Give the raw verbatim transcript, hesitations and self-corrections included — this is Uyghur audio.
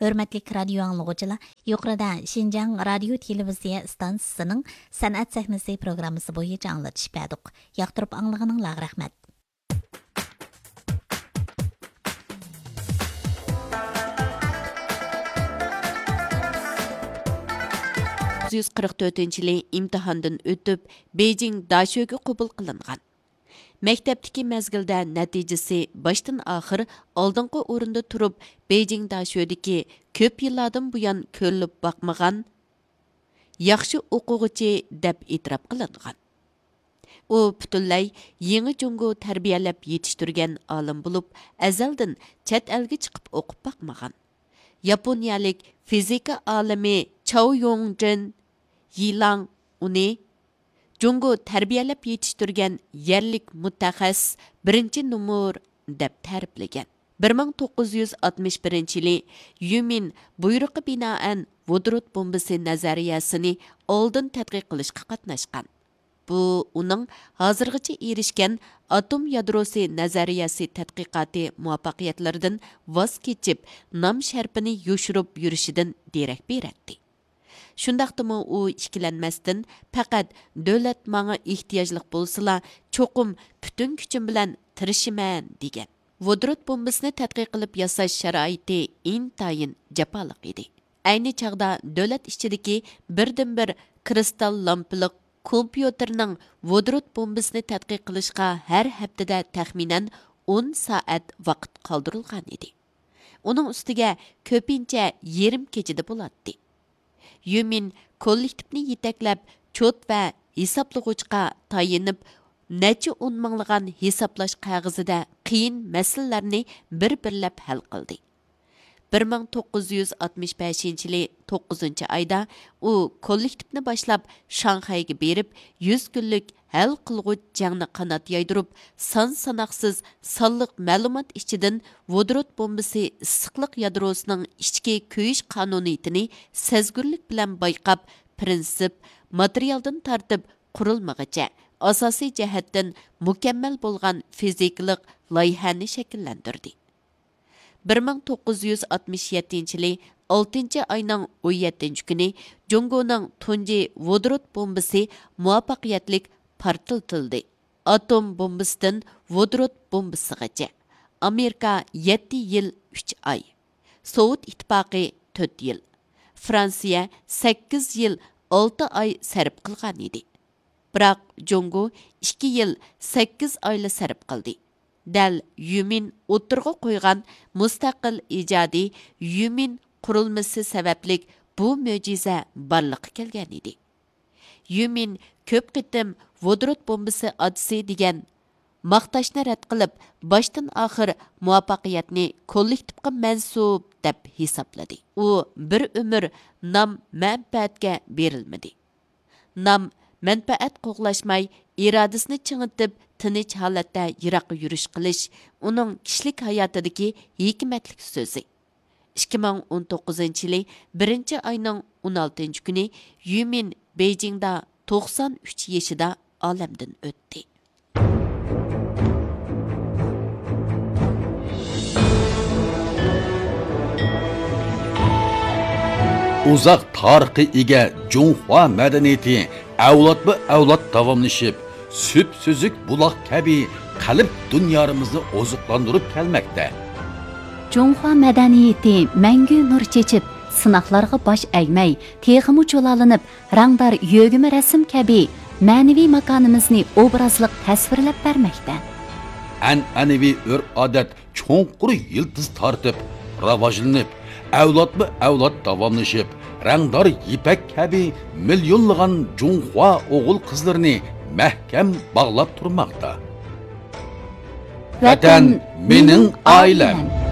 ھۆرمەتلىك رادىيو ئاڭلىغۇچىلار، يۇقىرىدا شىنجاڭ رادىيو تېلېۋىزىيە ئىستانسىسىنىڭ سەنئەت سەھنىسى پروگراممىسى بويىچە ئاڭلىتىش بەردۇق. ياقتۇرۇپ ئاڭلىغىنىڭلارغا رەھمەت. توققۇز يۈز قىرىق تۆتىنچى يىلى ئىمتىھاندىن ئۆتۈپ، بېيجىڭ داشۆگە قوبۇل قىلىنغان. مەكتەپتىكى مەزگىلدە نەتىجىسى باشتىن ئاخىر ئالدىنقى ئورۇندا تۇرۇپ، بېيجىڭ داشۆدىكى كۆپ يىللاردىن بۇيان كۆرۈلۈپ باقمىغان ياخشى ئوقۇغۇچى دەپ ئېتىراپ قىلىنغان. ئۇ پۈتۈنلەي يېڭى جۇڭگو تەربىيەلەپ يېتىشتۈرگەن ئالىم بولۇپ، ئەزەلدىن چەت ئەلگە چىقىپ ئوقۇپ باقمىغان. ياپونىيەلىك فىزىكا ئالىمى چاۋ يوڭجېن يىلاڭ ئۇنى جۇڭگو تەربىيەلەپ يېتىشتۈرگەن يەرلىك مۇتەخەسسىس بىرىنچى نومۇر دەپ تەرىپلىگەن. بىر مىڭ توققۇز يۈز ئاتمىش بىرىنچى يىلى يۈمىن بۇيرۇقى بىنائەن ۋودورود بومبىسى نەزەرىيەسىنى ئالدىن تەتقىق قىلىشقا قاتناشقان. بۇ ئۇنىڭ ھازىرغىچە ئېرىشكەن ئاتوم يادروسى نەزەرىيەسى تەتقىقاتى مۇۋەپپەقىيەتلىرىدىن ۋاز كېچىپ، نام شەرىپىنى يوشۇرۇپ يۈرۈشىدىن دېرەك بېرەتتى. شۇنداقتىمۇ ئۇ ئىككىلەنمەستىن، پەقەت دۆلەت ماڭا ئېھتىياجلىق بولسىلا، چوقۇم پۈتۈن كۈچۈم بىلەن تىرىشىمەن، دېگەن. ۋودورود بومبىسىنى تەتقىق قىلىپ ياساش شارائىتى ئىنتايىن جاپالىق ئىدى. ئەينى چاغدا دۆلەت ئىچىدىكى بىردىنبىر كىرىستال لامپىلىق كومپيۇتېرنىڭ ۋودورود بومبىسىنى تەتقىق قىلىشقا ھەر ھەپتىدە تەخمىنەن ئون سائەت ۋاقىت قالدۇرۇلغان ئىدى. ئۇنىڭ ئۈستىگە كۆپىنچە يېرىم كېچىدە بولاتتى. يۈمىن كوللېكتىپنى يېتەكلەپ، چوت ۋە ھېسابلىغۇچقا تايىنىپ، نەچچە ئون مىڭلىغان ھېسابلاش قەغىزىدە قىيىن مەسىلىلەرنى بىر-بىرلەپ ھەل قىلدى. بىر مىڭ توققۇز يۈز ئاتمىش بەشىنچى يىلى توققۇزىنچى ئايدا ئۇ كوللېكتىپنى باشلاپ، شاڭخەيگە بېرىپ، يۈز كۈنلۈك ھەل قىلغۇچ جەڭنى قانات يايدۇرۇپ، سان ساناقسىز سانلىق مەلۇمات ئىچىدىن ۋودورود بومبىسى ئىسسىقلىق يادروسىنىڭ ئىچكى كۆيۈش قانۇنىيىتىنى سەزگۈرلۈك بىلەن بايقاپ، پىرىنسىپ، ماتېرىيالدىن تارتىپ قۇرۇلمىغىچە ئاساسىي جەھەتتىن مۇكەممەل بولغان فىزىكىلىق لايىھەنى شەكىللەندۈردى. بىر مىڭ توققۇز يۈز ئاتمىش يەتتىنچى يىلى ئالتىنچى ئاينىڭ ئون يەتتىنچى كۈنى جۇڭگونىڭ تۇنجى ۋودورود بومبىسى مۇۋەپپەقىيەتلىك پارتلىتىلدى. ئاتوم بومبىسىدىن ۋودورود بومبىسىغىچە ئامېرىكا يەتتە يىل ئۈچ ئاي، سوۋېت ئىتتىپاقى تۆت يىل، فرانسىيە سەككىز يىل ئالتە ئاي سەرپ قىلغان ئىدى. بىراق جۇڭگو ئىككى يىل سەككىز ئايلا سەرپ قىلدى. دەل يۈمىن ئوتتۇرىغا قويغان مۇستەقىل ئىجادىي يۈمىن قۇرۇلمىسى سەۋەبلىك بۇ مۆجىزە بارلىققا كەلگەن ئىدى. يۈمىن كۆپ قېتىم ۋودورود بومبىسى ئاتىسى دېگەن ماختاشنى رەت قىلىپ، باشتىن ئاخىر مۇۋەپپەقىيەتنى كوللېكتىپقا مەنسۇپ دەپ ھېسابلىدى. ئۇ بىر ئۆمۈر نام مەنپەئەتكە بېرىلمىدى. نام مەنپەئەت قوغلاشماي، ئىرادىسىنى چىڭىتىپ، تىنچ ھالەتتە يىراققا يۈرۈش قىلىش ئۇنىڭ كىشىلىك ھاياتىدىكى ھېكمەتلىك سۆزى. ئىككى مىڭ ئون توققۇزىنچى يىلى بىرىنچى ئاينىڭ ئون ئالتىنچى كۈنى يۈمىن بېيجىڭدا توقسان ئۈچ يېشىدا ئالەمدىن ئۆتتى. ئۇزاق تارىخقا ئىگە جۇڭخۇا مەدەنىيىتى ئەۋلادمۇ ئەۋلاد داۋاملىشىپ، سۈپسۈزۈك بۇلاق كەبى قەلب دۇنيارىمىزنى ئوزۇقلاندۇرۇپ كەلمەكتە. جۇڭخۇا مەدەنىيىتى مەڭگۈ نۇر چېچىپ، سىناقلارغا باش ئەگمەي، تېخىمۇ جۇلالىنىپ، رەڭدار يۆگىمە رەسىم كەبى مەنىۋى ماكانىمىزنى ئوبرازلىق تەسۋىرلەپ بەرمەكتە. ئەنئەنىۋى ئۆرپ-ئادەت چوڭقۇر يىلتىز تارتىپ، راۋاجلىنىپ، ئەۋلادمۇ ئەۋلاد داۋاملىشىپ، رەڭدار يىپەك كەبى مىليونلىغان جۇڭخۇا ئوغۇل-قىزلىرىنى مەھكەم باغلاپ تۇرماقتا. ۋەتەن مېنىڭ ئائىلەم.